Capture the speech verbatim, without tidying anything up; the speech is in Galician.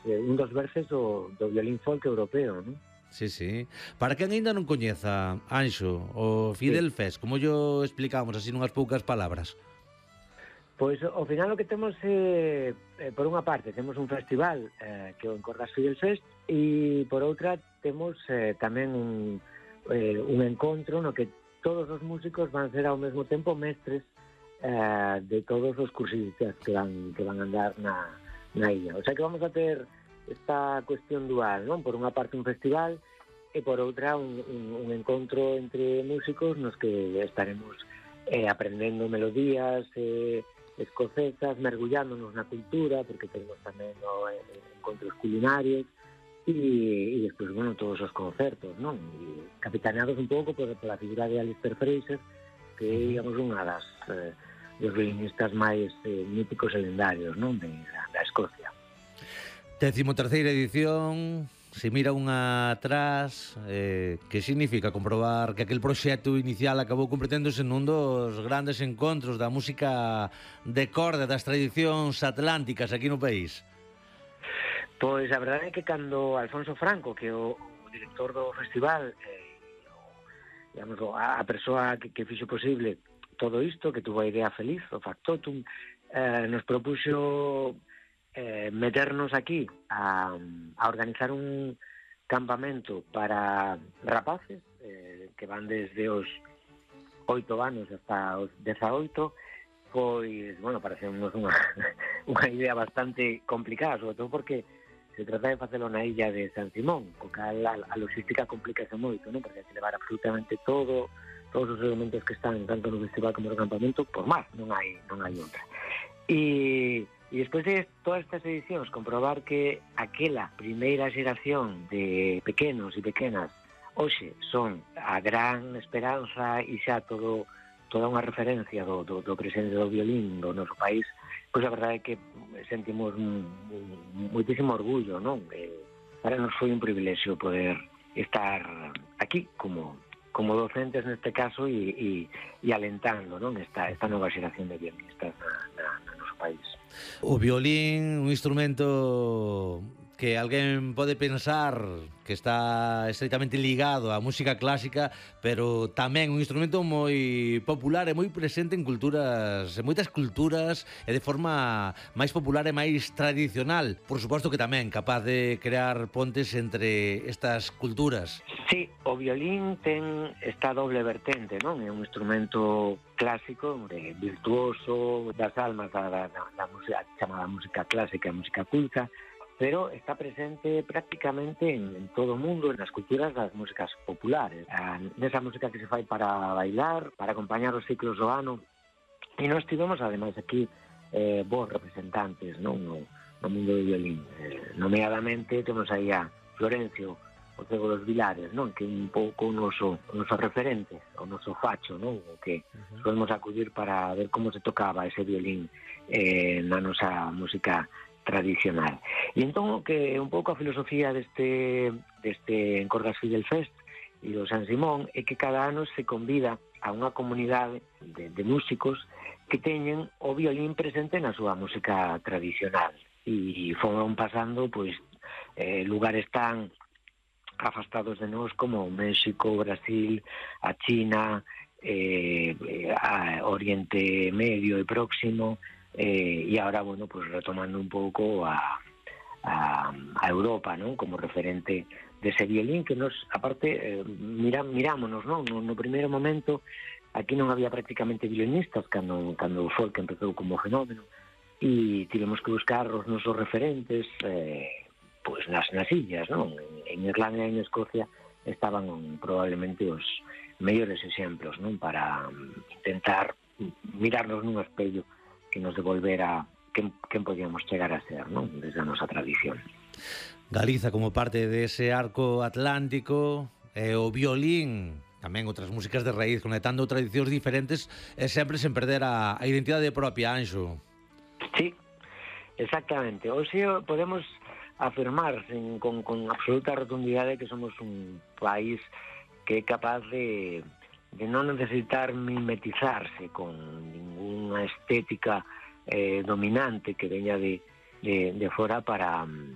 eh, un dos berces do, do violín folk europeo, non? Sí, sí. Para quen ainda non coñeza, Anxo, o Sí. Fidel Fest, como yo explicamos así nunhas poucas palabras? Pois ao final o que temos é, eh, por unha parte, temos un festival eh, que é o Encordas Fidel Fest e por outra temos eh, tamén un, eh, un encontro no que todos os músicos van ser ao mesmo tempo mestres eh, de todos os cursistas que van, que van andar na, na illa. O sea que vamos a ter esta cuestión dual, non? Por unha parte un festival e por outra un, un, un encontro entre músicos nos que estaremos eh, aprendendo melodías, eh, escocesas, mergullándonos na cultura, porque tenemos tamén no, eh, encontros culinarios e, e despois, bueno, todos os concertos, non? E capitaneados un pouco por, por a figura de Alistair Fraser, que é, digamos, unha das eh, dos violinistas máis eh, míticos e lendarios, non? De, da, da Escocia. Décimo terceira edición. Se mira unha atrás, eh, que significa comprobar que aquel proxecto inicial acabou completéndose nun dos grandes encontros da música de corda das tradicións atlánticas aquí no país? Pois a verdade é que cando Alfonso Franco, que é o, o director do festival, eh, o, digamos, a, a persoa que, que fixo posible todo isto, que tuvo a idea feliz, o factotum, eh, nos propuxo Eh, meternos aquí a, a organizar un campamento para rapaces eh, que van desde os oito anos hasta os dezaoito, pois, bueno, parecemos unha, unha idea bastante complicada, sobre todo porque se trata de facelo na illa de San Simón, co cal a, a logística complícase moito, non? Porque hai que levar absolutamente todo, todos os elementos que están tanto no festival como no campamento por mar, non hai, non hai outra. E E despois de todas estas edicións comprobar que aquela primeira xeración de pequenos e pequenas hoxe son a gran esperanza e xa todo toda unha referencia do, do, do presente do violín do noso país, pois a verdade é que sentimos moitísimo orgullo, non? E para nos foi un privilexio poder estar aquí como como docentes neste caso e, e, e alentando, non? Esta, esta nova xeración de violinistas na, na, no noso país. O violín, un instrumento que alguén pode pensar que está estreitamente ligado á música clásica, pero tamén un instrumento moi popular e moi presente en culturas, en moitas culturas e de forma máis popular e máis tradicional. Por suposto que tamén capaz de crear pontes entre estas culturas. Sí, o violín ten esta doble vertente, non? É un instrumento clásico, virtuoso, das almas da, da, da música, chamada música clásica, música culta, pero está presente prácticamente en, en todo o mundo, nas culturas das músicas populares, a, nesa música que se fai para bailar, para acompañar os ciclos do ano, e nós tivemos, ademais, aquí eh, bons representantes, non? No, no mundo do violín. Eh, nomeadamente, temos aí a Florencio o Cego dos Vilares, non? Que é un pouco o noso, o noso referente, o noso facho, non? O que uh-huh. solemos acudir para ver como se tocaba ese violín eh, na nosa música tradicional. E entón, que un pouco a filosofía deste, deste Encordas Fidel Fest e do San Simón é que cada ano se convida a unha comunidade de, de músicos que teñen o violín presente na súa música tradicional. E foron pasando, pois, eh, lugares tan afastados de nós como México, Brasil, a China, eh, a Oriente Medio e Próximo, eh, e agora, bueno, pues retomando un pouco a, a, a Europa, non? Como referente dese violín que nos, aparte, eh, mira, mirámonos, non? No, no primeiro momento, aquí non había prácticamente violinistas cando, cando o folk empezou como fenómeno, e tivemos que buscar os nosos referentes, eh, pois nas, nas illas, non? En, en Irlanda e en Escocia estaban um, probablemente os mellores exemplos, non? Para um, intentar mirarnos nun espello que nos devolvera quen, quen podíamos chegar a ser, non? Desde a nosa tradición. Galiza como parte dese arco atlántico, e o violín, tamén outras músicas de raíz, conectando tradicións diferentes e sempre sen perder a, a identidade propia, Anxo. Sí, exactamente. Hoxe podemos afirmar sin, con, con absoluta rotundidade que somos un país que é capaz de, de non necesitar mimetizarse con ninguna estética eh, dominante que veña de, de, de fora para